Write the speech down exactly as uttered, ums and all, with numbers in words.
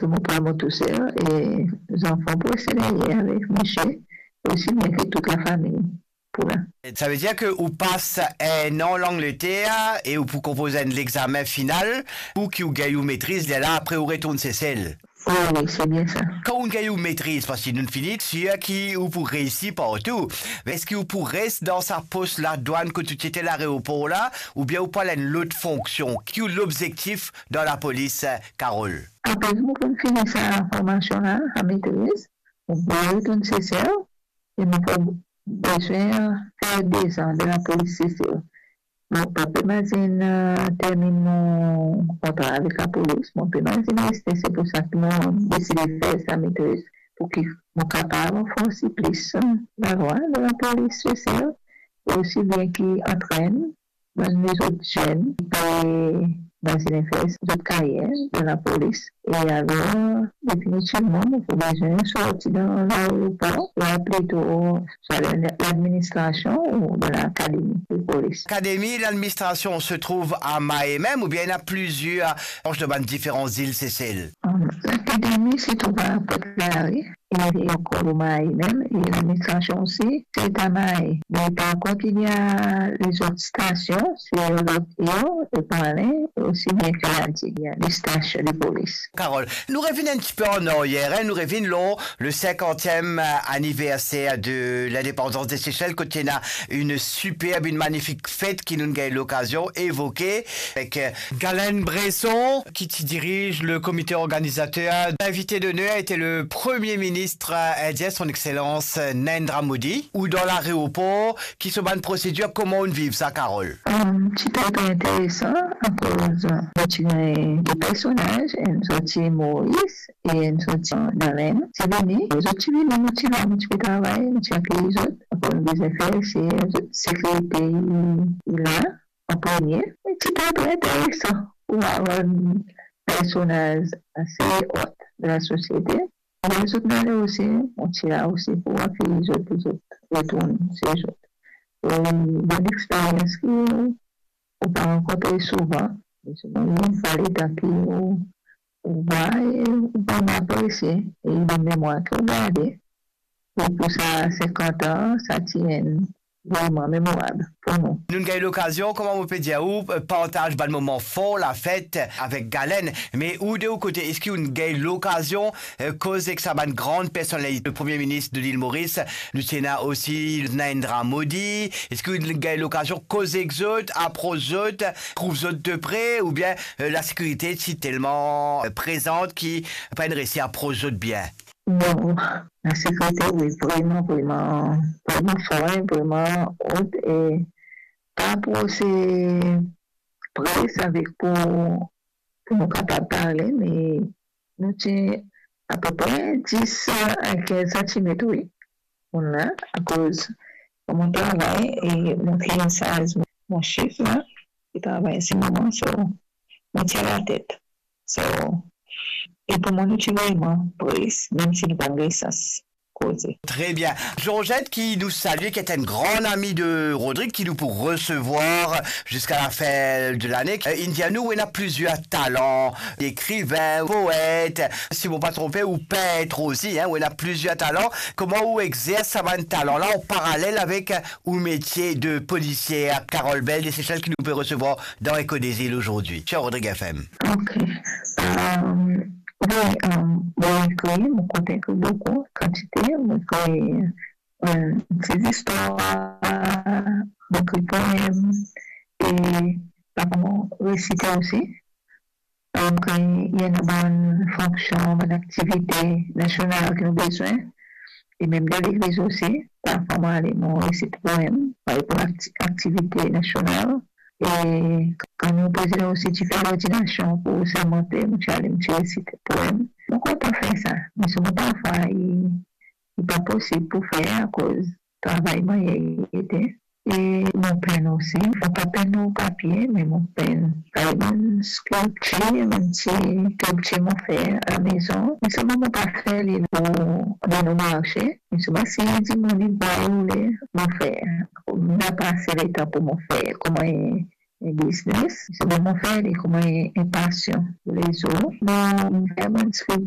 Mo pran mo tousel e zanfan pou reste deryer avek misie, osi bien ki tout lafami pou la. Savedir ki ou pas enn an Langleter e ou pou konpoz enn lexame final pou ki ou gagn ou metriz, lerla apre ou retourn Sesel. Wi, wi, se bien sa. Kan ou gagn ou metriz, parski nou fini sir ki ou pou reisi partou, me eski ou pou res dan sa pos ladwann kot ou ti ete laeropor la, oubien ou pou al enn lot fonksion? Ki ou lobzektif dan lapolis, Carole? Apre mo finn fini sa formasion la, sa metriz, mo pou retourn Sesel e mo pou bizin fer dezan dan lapolis Sesel. Mo pa pe mazinn, eh, terminn mo kontra avek lapolis, mo pe mazinn reste, se pou sa ki mo deside fer sa metriz, pou ki mo kapav ranforsi plis, eh, lalwa dan lapolis Sesel, e osi bien ki antrenn bann lezot zenn ki pe mazinn fer zot karyer dan lapolis. E alor, definitivman, mo pou bizin sorti dan laeropor, la plito swa dan ladministrasion ou dan lakademi de polis. Akademi, ladministrasion se trouv a Mahé mem, oubien ena plizier branch dan bann diferan zil Sesel? Lakademi se trouv a Pointe-Larue, e ankor Mahé mem, e ladministrasion osi, se a Mahé. Me par kont, ena lezot stasion, se Loteo, Epinle, e osi bien ki La Digue, ena de stasion de polis. Carole, nou revinn enn tipe an aryer, hein, nou revinn lor le cinquantième anniversaire de l'indépendance des Seychelles, kot ena enn siperb, enn manifik fet ki nou gagn lokazion evoke avek, eh, Galen Bresson, ki ti diriz le comité organisateur. L'invité d'honneur était le Premier ministre indien, son Excellence Narendra Modi, ou dan laeropor, ki so bann prosedir, kouma ou viv sa, Carole? Hum, ti pe interesan, akoz, eh, nou ti gagn de personaz, enn sorti Moris e enn sorti Galen. Ti vini, zot ti vini, nou ti la, nou ti pe travay, nou ti akeyir zot. Akoz nou bizin fer sir sekirite i, i la an premie. E ti pe interesan pou war bann personaz ase ot de lasosiete. E lezot nale osi, nou ti la osi pou akeyir zot, pou zot retourn se zot. E bann experyans ki ou pa rankontre souvan, me selman enn fwa letan ki ou, ou vwar e ou vremem apresie, e dan memwar ki ou garde. E pou sa sinkant an, sa ti enn vreman memorab pou nou. Nou gagn lokazion, kouma mo pe dir ou, partaz bann moman for lafet avek Galen. Me ou, de ou kote, eski ou gagn lokazion, eh, koz ek sa bann gran personalite, le Premier ministre de l'île Maurice, nou ti ena osi Narendra Modi, eski ou gagn lokazion koz ek zot, apros zot, trouv zot de pre, oubien, eh, lasekirite ti telman, eh, prezan ki pa inn resi apros zot bien? Non, lasekirite, wi, vreman, vreman, vreman for, vreman ot, e pa apros pres avek pou, pou nou kapav parle, me nou ti apepre dis a kinz santimet, wi. Koumsa, akoz mo travay e mo finn saz mo, mo sef la, ki travay an se moman, so, mo ti a latet. So, e pou mwa, nou ti vreman pres, mem si nou pa gagn sans koze. Très bien. Georgette, ki nou salie, ki est une grande amie de Rodrigue, ki nou pou resevwar ziska lafin de lane. Eh, inn dir nou, ou ena plizier talan, ekrivin, poet, si mo pa tronpe, ou pint osi, hein, ou ena plizier talan. Kouma ou exers sa bann talan la an paralel avek ou metie de polisier? Carole Bell de Seychelles ki nou pe resevwar dan Echo des Îles aujourd'hui sur Rodrigue F M. Ok. Euh, wi, euh, mo ekrir, mo kontan ekrir boukou, kantite, mo ekrir, euh, ti zistwar, mo ekrir poem, e parfwa mo resite osi. Donk, eh, ena bann fonksion, bann aktivite nasional ki nou bizin, e mem dan legliz osi, parfwa mo ale, mo resit poem, parey pou akti-, aktivite nasional. E kan nou prezidan osi ti fer lordinasion pou sermante, mo ti ale, mo ti resit poem. Mo kontan fer sa, me selman parfwa, li, li pa posib pou fer akoz travay mannyer li ete. E mo pinn osi, mo pa pinn lor papie, me mo pinn. Parey bann skilptir, bann ti skilptir mo fer alamezon. Me selman mo pa fer li lor, lor marse. Me selman si dimoun inn vwar, oule, mo fer. Mo napa ase letan pou mo fer kouma enn, enn biznes. Selman mo fer li kouma enn, enn pasion. Toulezour, mo fer bann skilptir.